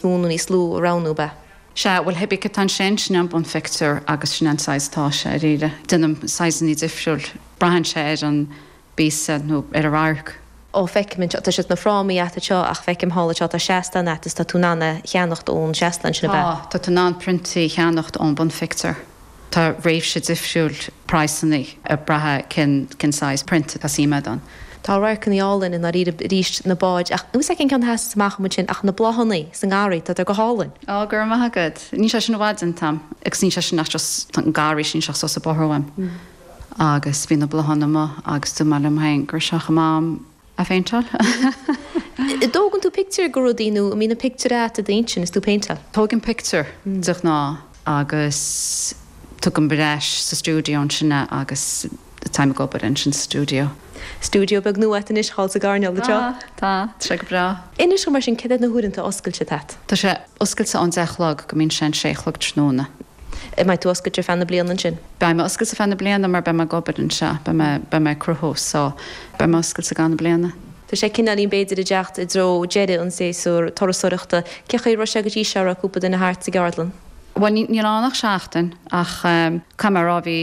mó nó níos lú a roghnú, ab ea? Sea, bhuel, cibé cad atá ansin, sin é an bunphictiúr agus sin é an saghas atá sé, dáiríre. Déanaim saghsanna difriúil, braitheann sé ar an bpíosa nó ar an radharc. Ó, feicim anseo, tá siad sna frámaí agat anseo ach feicim thall anseo tá seastán agat is tá tú in ann é a cheannacht ón seastán sin, ab ea? Tá, tá tú in ann priontaí a cheannacht ón bunphictiúr. Tá réimse difriúil praghsanna ag brath cén cén saghas print atá suim agat ann. Tá radharcanna álainn i ndáiríre arís, na báid, ach níl 'fhios a'm cén ceann a sheasas amach dom ansin ach na bláthanna sa ngarraí, tá go hálainn. Á, go raibh maith agat. Níl sé sin i bhfad déanta a'm agus níl sé sin ach just an garraí sin, níl sé ach suas an bóthar uaim. Agus bhí na bláthanna amuigh agus dúirt mé liom féin go raibh sé chomh maith a'm a phéinteáil. An dtógann tú pictiúr de rudaí nó an mbíonn an pictiúr agat i d'intinn is tú ag péinteáil? Tógaim pictiúr de ghnáth agus tugaim ar ais sa stiúideo ansin é agus táim ag obair ansin sa stiúideo. Stiúideo beag nua agat anois thall sa gcoirnéal anseo. Tá, tá, tá sé go breá. Inis dom mar sin cad iad na huaireanta oscailte atá agat? Tá sé oscailte ón 10 a chlog go mbíonn sé an 6 a chlog tráthnóna. An mbeidh tú oscailte ar feadh na bliana ansin? Beidh mé oscailte feadh na bliana mar beidh mé ag obair anseo, beidh mé, beidh mé ag cruthú so beidh mé oscailte i gcaitheamh na bliana. Tá sé cineáilín b'fhéidir ag teacht i dtreo deireadh an séasúr turasóireachta. Cé chaoi a raibh sé go dtí seo, raibh cúpla duine thart sa gceardlann? Bhuel níl ann ach seachtain ach caithfidh mé a rá bhí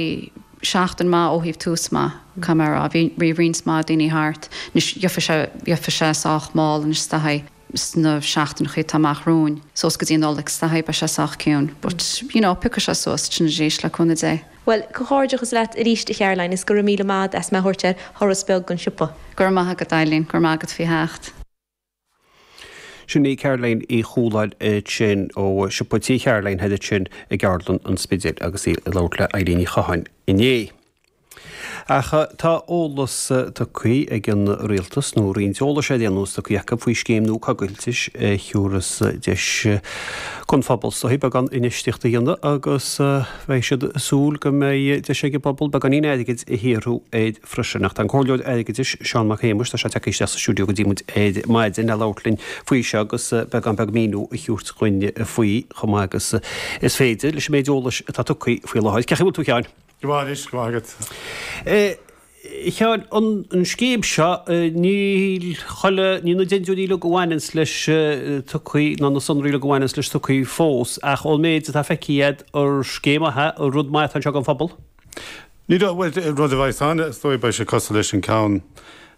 seachtain maith ó thaobh tús maith, caithfidh mé a rá. Bhí, bhí roinnt mhaith daoine thart. Anois gheobhaidh sé, gheobhaidh sé sách mall anois is dóichí. sna seachtaineachaí atá amach romhainn, suas go dtí an Nollaig is dóichí, beidh sé sách ciúin. But, you know, piocfaidh sé suas ansin arís le cúnamh Dé. Bhuel, comhghairdeachas leat arís a Charoline is go raibh míle maith agat as mé a thabhairt ar thuras beag den siopa. Go raibh maith agat Eileen, go raibh maith agat faoi theacht. Sin í Caroline Uí Chualáin ansin ó Siopa Tí Charoline thoir ansin i gCeardlann an Spidéil agus í ag labhairt le Eileen Ní Chatháin inné. Ach tá eolas tugtha ag an Rialtas, nó roinnt eolais ar aon nós tugtha acu, faoi scéim nua coigiltis a thiúrfas deis don phobal is dóichí beagán infheistíochta a dhéanamh agus beidh siad ag súil go mbeidh deis ag an bpobal beagáinín airgid a shaothrú air freisin. Ach tá an Comhairleoir Airgeadais, Seán Mac Shéamuis, tá sé tagtha isteach sa stiúideo go dtí muid ar maidin le labhairt linn faoi seo agus beagán beag míniú a thabhairt dhuinn faoi chomh maith agus is féidir leis an méid eolais atá tugtha faoi láthair. Cén chaoi a bhfuil tú a Sheáin? Go maith anois, go maith agat. A Sheáin, an scéim seo, níl chuile, níl na dintiúirí uilig a bhaineanns leis tugtha, ná na sonraí uilig a bhaineanns leis tugtha fós, ach ón méid atá feicthe agat, ar scéim mhaith é, ar rud maith atá anseo don phobal? Ní dóigh, bhuel, rud a bheas ann, is dóigh, beidh sé cosúil leis an ceann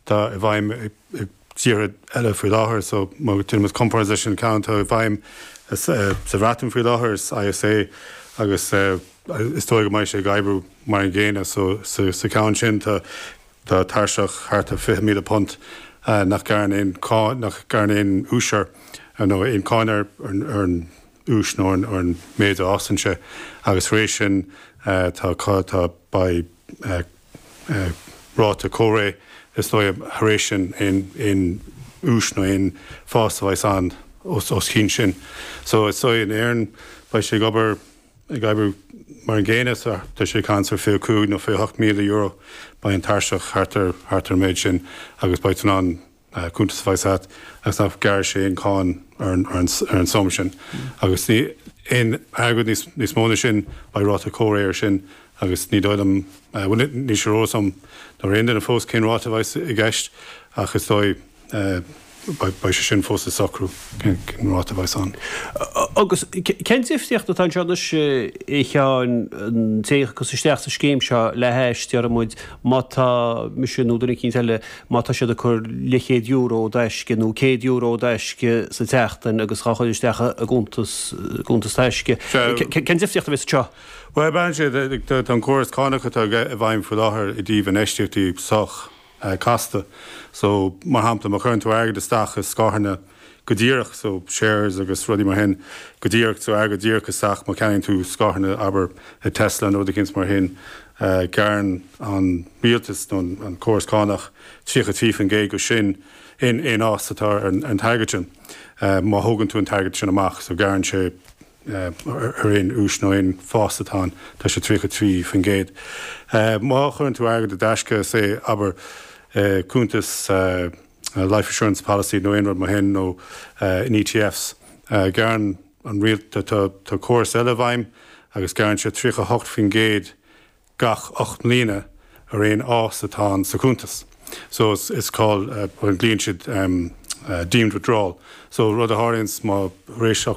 atá i bhfeidhm i dtíortha eile faoi láthair, so má déanaimid comparáid leis an ceann atá i bhfeidhm sa Bhreatain faoi láthair, is ISA agus Is dóigh go mbeidh sé ag oibriú mar an gcéanna. So sa cheann sin tá tá tairseach thart ar £20,000 nach gearrann aon cháin, nach gearrann aon ús air nó aon cáin ar ar an ús nó ar an méid a fhásann sé agus tar éis sin tá tá beidh ráta comhréidh is dóigh tar éis sin aon aon ús nó aon fás a bheas ann os os cionn sin. So is dóigh in Éirinn beidh sé ag obair ag oibriú mar an gcéanna so tá sé ag caint ar 25 nó €28,000 beidh an tairseach thart ar thart ar an méid sin agus beidh tú in ann cuntas a bheas agat agus nach gearrfaidh sé aon cáin ar an ar an ar an suim sin agus ní aon airgead níos níos mó na sin beidh ráta comhréidh ar sin agus ní dóigh liom bhuel níl sé ar eolas agam nó ar aon duine fós cén ráta a bheas i gceist ach is dóigh Beidh sé sin fós le socrú, cén ráta a bheas ann. Agus cén difríocht atá anseo anois, a Sheáin, an té a thiocfas isteach sa scéim seo le hais, déarfaidh muid, má tá mise nó duine eicínt eile, má tá siad ag cur leathchéad euro i dtaisce nó €100 i dtaisce sa tseachtain agus dhá chur isteach i gcuntas, gcuntas taisce. Cén difríocht a bheas anseo? Bhuel, braitheann sé, tá an córas cánach atá i bhfeidhm faoi láthair i dtaobh infheistíochtaí sách casta. So, mar shampla, má chuireann tú airgead isteach i scáthanna go díreach, so shares agus rudaí mar shin, go díreach, so airgead díreach isteach, má cheannaíonn tú scáthanna, abair, i Tesla nó rud eicínt mar shin, gearrann an rialtas nó an córas cánach 33% de sin aon aon fhás atá ar an t-airgead sin, má thógann tú an t-airgead sin amach. So gearrann sé. ar aon ús nó aon fás atá ann, tá sé 33%. Má chuireann tú airgead i dtaisce, say, abair, cuntas life assurance policy nó aon rud mar shin nó in ETFs, gearrann an rialt, tá córas eile i bhfeidhm agus gearrann sé 38% gach 8 mbliana ar aon fhás atá ann sa chuntas. So is call, glaonn siad. deemed withdrawal. So rud a tharlaíonns má tar éis.